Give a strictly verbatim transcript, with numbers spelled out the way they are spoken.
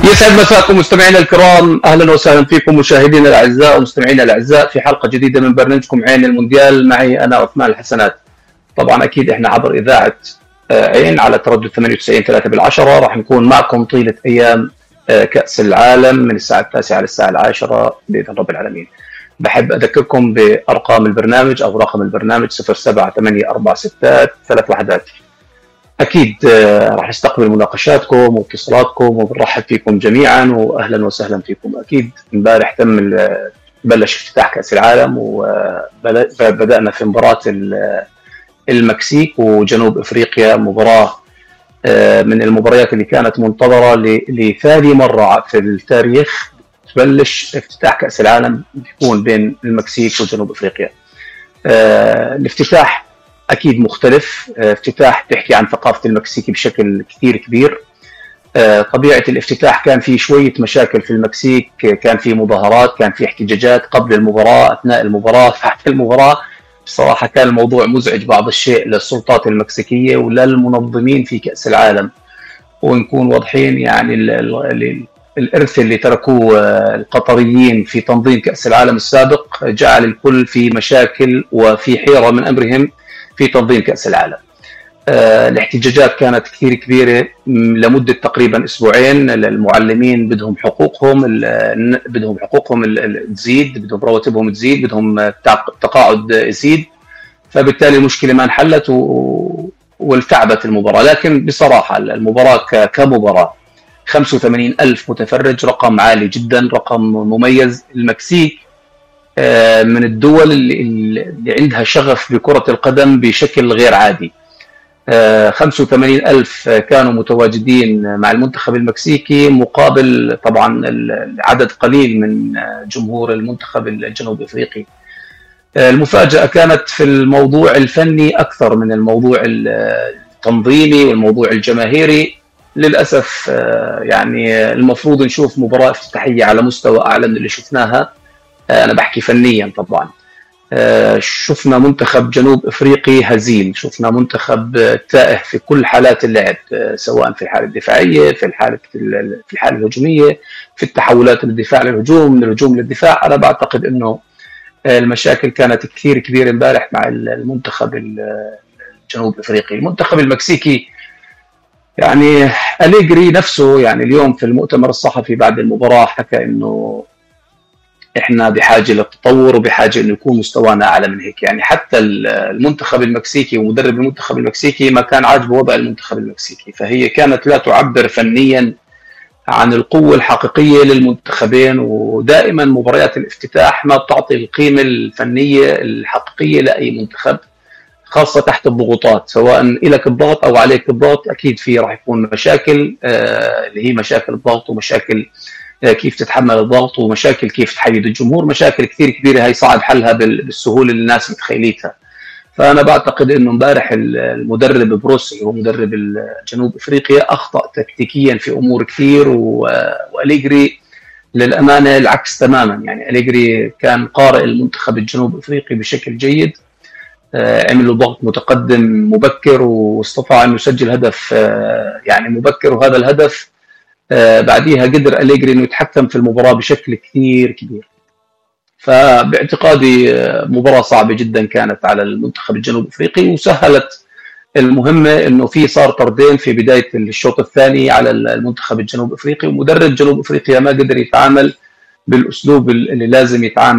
يسعد مساكم مستمعينا الكرام، اهلا وسهلا فيكم مشاهدينا الاعزاء ومستمعينا الاعزاء في حلقه جديده من برنامجكم عين المونديال. معي انا عثمان الحسنات. طبعا اكيد احنا عبر اذاعه عين على تردد ثمانية وتسعين ثلاثة بالعشرة راح نكون معكم طيله ايام كاس العالم من الساعه التاسعه للساعه العاشرة باذن رب العالمين. بحب اذكركم بارقام البرنامج او رقم البرنامج صفر سبعة ثمانية أربعة ستة ثلاث وحدات. اكيد راح نستقبل مناقشاتكم واتصالاتكم وبنرحب فيكم جميعا واهلا وسهلا فيكم. اكيد امبارح تم بلش افتتاح كاس العالم وبدانا في مباراه المكسيك وجنوب افريقيا، مباراه من المباريات اللي كانت منتظره لثاني مره في التاريخ تبلش افتتاح كاس العالم بيكون بين المكسيك وجنوب افريقيا. الافتتاح أكيد مختلف، افتتاح بيحكي عن ثقافة المكسيكي بشكل كثير كبير. طبيعة الافتتاح كان في شوية مشاكل في المكسيك، كان في مظاهرات، كان في احتجاجات قبل المباراة، أثناء المباراة، بعد المباراة. بصراحة كان الموضوع مزعج بعض الشيء للسلطات المكسيكية وللمنظمين في كأس العالم، ونكون واضحين يعني الإرث اللي تركوه القطريين في تنظيم كأس العالم السابق جعل الكل في مشاكل وفي حيرة من أمرهم في تنظيم كأس العالم. آه، الاحتجاجات كانت كثير كبيرة لمدة تقريبا أسبوعين. المعلمين بدهم حقوقهم بدهم حقوقهم تزيد، بدهم رواتبهم تزيد، بدهم تقاعد يزيد، فبالتالي المشكلة ما انحلت والتعبت المباراة. لكن بصراحة المباراة كمباراة خمسة وثمانين ألف متفرج رقم عالي جدا، رقم مميز. المكسيك من الدول اللي عندها شغف بكرة القدم بشكل غير عادي. خمسة وثمانين ألف كانوا متواجدين مع المنتخب المكسيكي مقابل طبعا العدد قليل من جمهور المنتخب الجنوب افريقي. المفاجأة كانت في الموضوع الفني أكثر من الموضوع التنظيمي والموضوع الجماهيري. للأسف يعني المفروض نشوف مباراة افتتاحية على مستوى أعلى من اللي شفناها. أنا بحكي فنيا طبعا. شفنا منتخب جنوب أفريقي هزيل، شفنا منتخب تائه في كل حالات اللعب، سواء في الحالة الدفاعية، في الحالة في الحالة الهجومية، في التحولات من الدفاع للهجوم، من الهجوم للدفاع. أنا بعتقد إنه المشاكل كانت كثير كبيرة امبارح مع المنتخب الجنوب أفريقي. المنتخب المكسيكي يعني أليجري نفسه يعني اليوم في المؤتمر الصحفي بعد المباراة حكى إنه احنا بحاجه للتطور وبحاجه انه يكون مستوانا اعلى من هيك. يعني حتى المنتخب المكسيكي ومدرب المنتخب المكسيكي ما كان عاجبه وضع المنتخب المكسيكي، فهي كانت لا تعبر فنيا عن القوه الحقيقيه للمنتخبين. ودائما مباريات الافتتاح ما بتعطي القيمه الفنيه الحقيقيه لاي منتخب، خاصه تحت الضغوطات، سواء لك الضغط او عليك الضغط. اكيد في راح يكون مشاكل آه اللي هي مشاكل الضغط ومشاكل كيف تتحمل الضغط ومشاكل كيف تحيد الجمهور، مشاكل كثير كبيرة هي صعب حلها بالسهولة اللي الناس متخيليتها. فأنا بعتقد إنه امبارح المدرب بروسي ومدرب جنوب أفريقيا أخطأ تكتيكيا في أمور كثير، وأليجري للأمانة العكس تماما. يعني أليجري كان قارئ المنتخب الجنوب أفريقي بشكل جيد، عمل له ضغط متقدم مبكر واستطاع أن يسجل هدف يعني مبكر، وهذا الهدف آه بعديها قدر أليجري إنه يتحكم في المباراة بشكل كثير كبير. فباعتقادي مباراة صعبة جدا كانت على المنتخب الجنوب أفريقي، وسهلت المهمة إنه في صار طردين في بداية الشوط الثاني على المنتخب الجنوب أفريقي، ومدرب جنوب أفريقيا ما قدر يتعامل بالأسلوب اللي لازم يتعامل